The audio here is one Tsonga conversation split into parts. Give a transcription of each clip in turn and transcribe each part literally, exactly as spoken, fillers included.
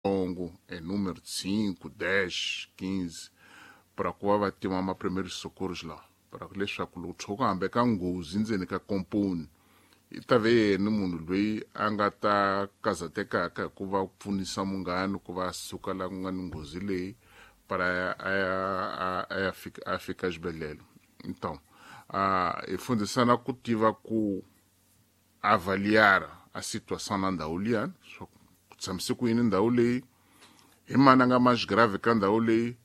Longo em número de cinco, dez, quinze para ku va va tiva ma primeiros socorros lawa para leswaku loko tshuka hambe ka nghozi ndzeni ka komponi i ta ve yena munhu loyi a nga ta kazatekaka hi ku va pfunisa munghana ku va suka la ku nga ni nghozi leyi para a ya a ya fika a fika xibedhlele. Então hi fundisana ku tiva ku avaliar a situação na ndhawu liyani swa ku tshamise ku yini ndhawu leyi hi mani a nga mais grave ka ndhawu leyi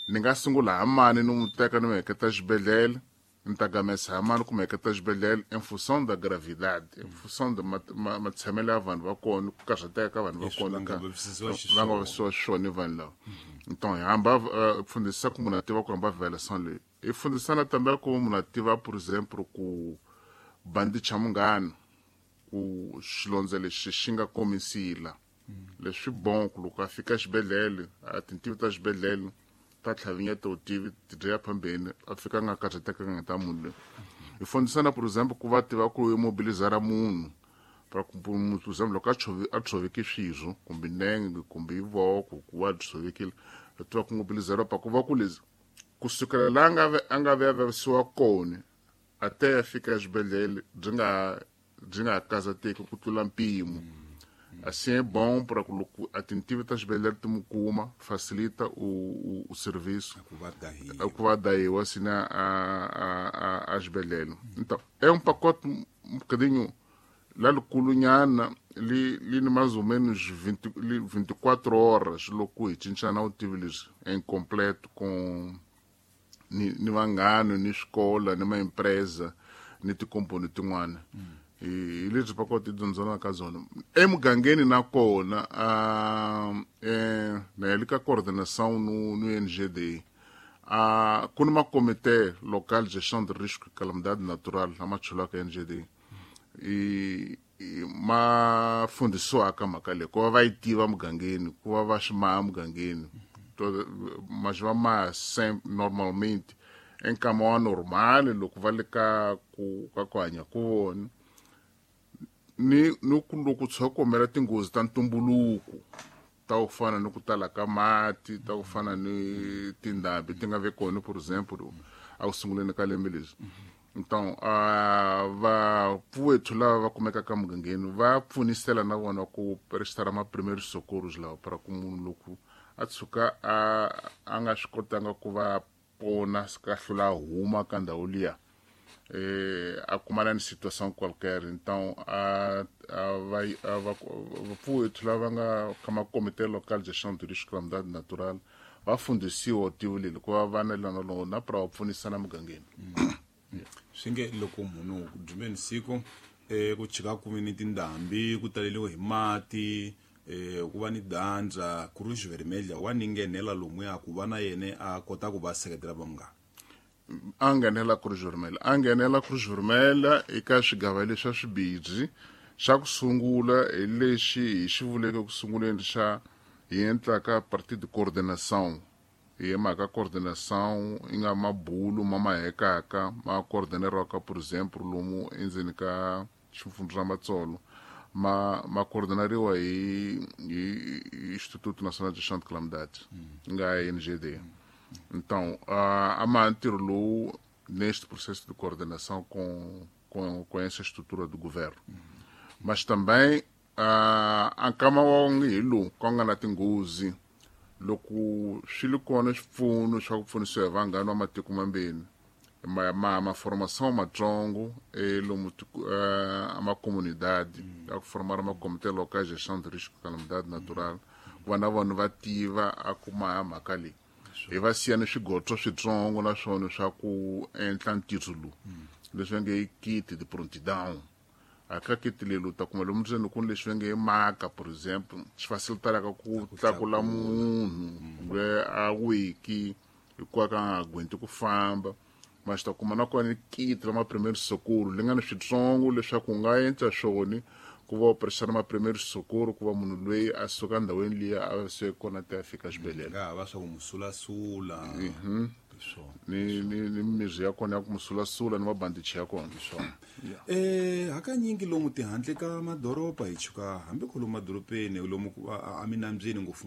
ni nga sungula ha mani ni n'wi teka ni n'wi heketa xibedhlele ni ta gamesa ha mani ku mi heketa xibedhlele em função da gravidade, em função da matshamelo ya vanhu va kona ku karhateka ka vanhu va kona va nga va nga vavisiwa xiswona vanhu lava. Então hi hamba fundisa ku munhu a tiva ku hamba avaliação leyi hi fundisana tambe ku munhu a tiva por exemplo ku bandicha munghana ku xilondza lexi xi nga komisila leswi bon ku loko a fika xibedhlele a tintivi ta xibedhlele ta tlhavinyeta utivi ti dya phambeni a fika nga karhatekanga ta munhu loyi. Hi fundisana por exemple ku va tiva ku immobilizara munhu para ku por exemple loko a tshovi a tshoveke swirho kumbe nenge kumbe voko ku va tshovekile hi tiva ku mobilizara pa ku va ku leswi kusukela laha nga a nga ve a vavisiwa kona a te ya fika exibedhlele byi nga byi nga kazateki ku tlula mpimo. Assim é bom para loko a tintivi ta xibedhlele ti mu kuma facilita o, o, o serviço ku va dahiwa assim a, a, a xibedhlele. Então é um pacote um bocadinho lá likulunyana li li ni mais ou menos vinte, li vinte e quatro horas loko hi cincana vutivi leswi em completo com ni, ni vanghana ni swikola ni maempresa ni tikomponi tin'wana. Hi lebyi pacote hi dyondzanaka ka byona emugangeni na kona eh na ya le ka coordenação no no N G D a ku ni makomite local de gestion de risco e calamidade natural lama chulaka N G D i ma fundisiwaka mhaka leyi ku va va yi tiva mugangeni ku va va swi maha mugangeni mas va maha normalmente enkama wa normal loko va le ka ku ka ku hanya ku vona ni ni ku loko tshuka ku humelela tinghozi ta ntumbuluko ta ku fana ni ku tala ka mati ta ku fana ni tindhambi ti nga ve kona por exemple a ku sunguleni ka lembe leswi. Então vapfuwethu lava va kumekaka mugangeni va pfunisela na vona ku prestar ma primeiros socorros lawa para ku munhu loko a tshuka a a nga swi kotanga ku va pona ka hlula huma ka ndhawu liya eh a kumana ni situação qualquer. Então a a vai a vapfuwethu lava nga ka makomite local de gestion de risco calamidade natural va fundisiwa vutivi leli ku va va na lona lona para va pfunisana mugangeni. Swi nge loko munhu ku dumeni siku eh ku chika ku ni tindhambi ku taleliwe hi mati eh ku va ni dandza Cruz Vermelha wa ni nghenela lomuya ku va na yena a kota ku va seketela va munghana a nghenela Cruz Vermelha a nghenela Cruz Vermelha eka swigava leswi swa swibidzi xa ku sungula hi lexi hi xi vuleke ku sunguleni xa hi endlaka parti de coordenação hi mhaka coordenação yi nga mabulu ma mahekaka ma coordeneriwaka por exemple lomu endzeni ka xifundza Matsolo ma ma coordenariwa hi hi Instituto Nacional de Gestão de Calamidade nga N G D. Então a ma ntirho lowu neste processo de coordenação com com com essa estrutura do governo. Mas também a nkama wa ngi hi lowu ku nga na tinghozi loko swi li kona swipfuno swa ku pfunisiwa hi vanghana va matiko mambeni ma ma ma formação matsongo e lomu a ma comunidade ya ku formar ma comité local de gestão de risco de calamidade natural ku va na vanhu va tiva a kuma mhaka leyi hi va siya ni swigotso switsongo naswona swa ku endla ntirho lowu leswi va nge i kit de prontidão a ka kit leyi u ta kuma lomu ndzeni ku ni leswi va nge i maka por exemple swi facilitaraka ku tlakula munhu kumbe a wiki hikuva ka nga gwenti ku famba mas ta kuma na kona ni kit ra ma primeiros socorros li nga ni switsongo leswaku u nga endla swona Ku va operation ma primary socorro ku va munhu loyi a suka ndhawini liya a suke kona ti ya fika xibedhlele. Nga ha va swa ku musulasula swona. Ni ni ni mirhi ya kona ya ku musulasula ni mabandichi ya kona. Swona. Eh hakanyingi lomu tihandle ka madoroba hi chuka hambi ku lomu madorobeni lomu ku- a- a minambyeni ngopfungopfu.